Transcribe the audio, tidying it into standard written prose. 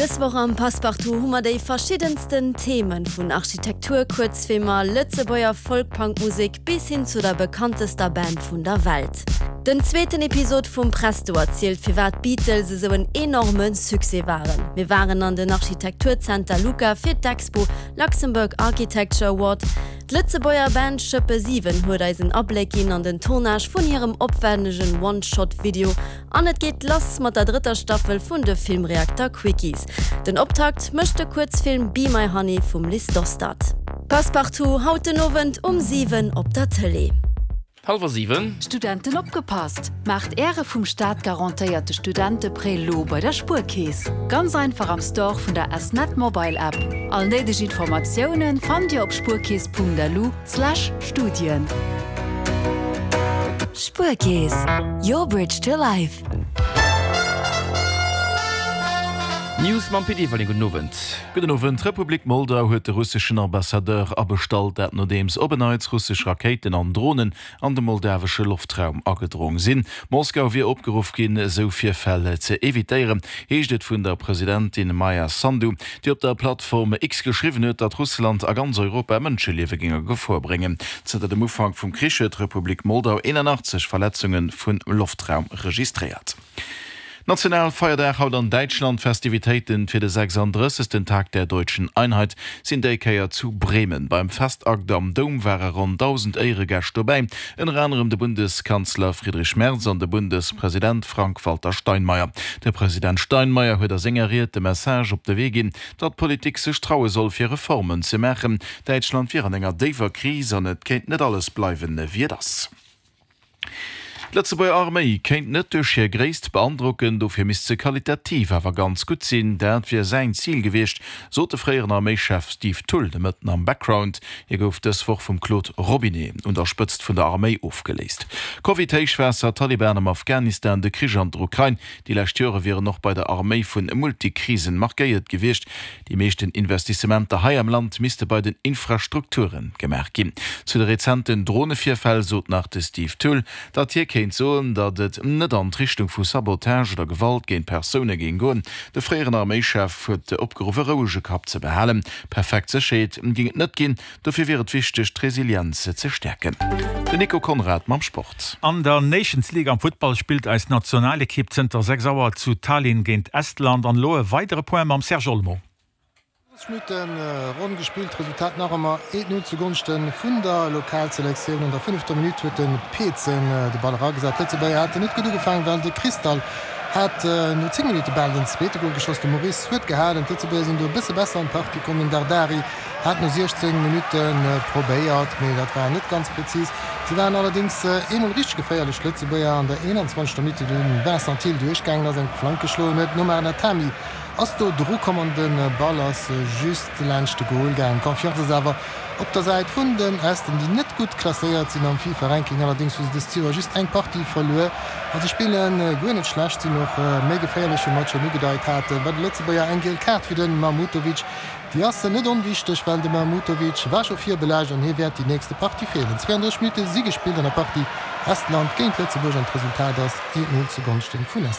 Dës Woch am Passepartout hu mer déi verschiddensten Themen, vun Architektur-Kuerzfilmer, Lëtzebuerger Folk-Punk-Musek bis hin zu der bekanntester Band vun der Welt. Den zweeten Episod vum Presto erzielt firwat d'Beatles esou en enorme Succès waren. Mir waren an den Architekturzenter LUCA fir d'Expo Luxembourg Architecture Award. D'Lëtzebuerger Band Schëppe 7 huet eis en Abléck ginn an den Tournage vun hirem opwännegen One-Shot-Video an et geet lass mat der drëtter Staffel vun de Filmreakter Quickies. Den Optakt mécht de Kuerzfilm Be My Honey vum Liz Dostert. Passepartout haut den Owend um 7 op der Tëlee. Hallwer 7. Studenten opgepasst! Maacht Äre vum Staat garantéierte Studenteprêt lo bei der Spuerkeess! Ganz einfach am Store vun der S-Net Mobile App. All néideg Informatiounen fannt Dir op spuerkeess.lu slash Studien. Spuerkeess, your bridge to life. News mam Pit Everling. Gudden Owend. Gudden Owend. D'Republik Moldau huet de russeschen Ambassadeur abestallt, dat nodeems op en Neits russesch Rakéiten an Dronen an de moldawesche Loftraum agedrong sinn. Moskau wier opgeruff ginn, esou Virfäll ze evitéieren, heescht et vun der Presidentin Maia Sandu, déi op der Plattform X geschriwwen huet, datt Russland a ganz Europa Mënscheliewe géing a Gefor bréngen. Zënter dem Ufank vum Krich huet d'Republik Moldau 81 Verletzunge vum Loftraum registréiert. Nationalfeierdag haut an Däitschland, D'Festivitéiten fir de 36. Tag der Deutschen Einheit sinn déi Kéier zu Bremen. Beim Festakt am Doum ware ronn 1.000 Éieregäscht dobäi, ënner anerem de Bundeskanzler Friedrich Merz an de Bundespresident Frank-Walter Steinmeier. De President Steinmeier huet a senger Ried de Message op de Wee ginn, datt d'Politik sech traue soll fir Reformen ze maachen. Däitschland wier an enger déiwer Kris an et kéint net alles bleiwen, wéi et ass. D'Lëtzebuerger Arméi kéint net duerch hir Gréisst beandrocken, dofir misst se qualitativ awer ganz gutt sinn. Dat wier säin Zil gewiescht, sot de fréieren Arméischef Steve Thull de Mëtten am Background. Hie gouf dës Woch vum Claude Robinet un der Spëtzt vun der Arméi ofgeléist. Covid, Héichwaasser, Taliban am Afghanistan, de Krich an der Ukrain, déi lescht Jore wieren och bei der Arméi vun Multikrisen markéiert gewiescht. Déi meeschten Investissementer hei am Land misste bei den Infrastrukture gemaach ginn. Zu de rezenten Dronevirfäll sot nach de Steve Thull, datt hie kéint soen, datt et net an d'Richtung vu Sabotage oder Gewalt géint Persoune géing goen. De fréieren Arméischef huet opgeruff, e rouege Kapp ze behalen. Perfekt Sécherheet géing et net ginn, Dofir wier et wichteg, d'Resilienz ze stäerken. Den Nico Conrad mam Sport. An der Nations League am Futtball spillt eis Nationalekipp zënter 6 Auer zu Tallinn géint Estland. An elo e weidere Point mam Serge Olmo. 30 Minutte ronn gespillt, Resultat nach ëmmer 1, 0 zu Gonschte vun der Lokalselektioun. An der fënnefter Minutt huet de Peetsen de Ball eragesat. D'Lëtzebuerger haten net gutt ugefaangen, well de Cristal hat no 10 Minutte bal den zweete Gol geschoss. De Maurice huet gehalen. D'Lëtzebuerger sinn do e bësse besser an d'Partie komm. Den Dardari Hat no 16 Minutte probéiert, mee dat war net ganz präzis. Si waren allerdéngs eemol richteg geféierlech, d'Lëtzebuerger. An der 21. Minutt, wéi de Vincent Thill duerchgaangen ass, eng Flank geschloen huet. D'Nomar Natami ass do dru komm an de Ball ass just laanscht de Gol gaangen. D'Confiance ass awer op der Säit vun den Esten, déi net gutt klasséiert sinn am FIFA-Ranking. Allerdéngs hu se dëst Joer just eng Partie verluer a se spille guer net schlecht, sinn och méi geféierlech, wéi mer et schonn ugedeit haten. Bei de Lëtzebuerger eng giel Kaart fir de Mahmutovic. Déi ass net onwichteg, well de Mahmutovic war scho virbelaascht an hie wäert déi nächste Partie feelen. 32 Minutte si gespillt an der Partie Estland géint Lëtzebuerg an d'Resultat ass 1, 0 zu Gonschten vun Estland.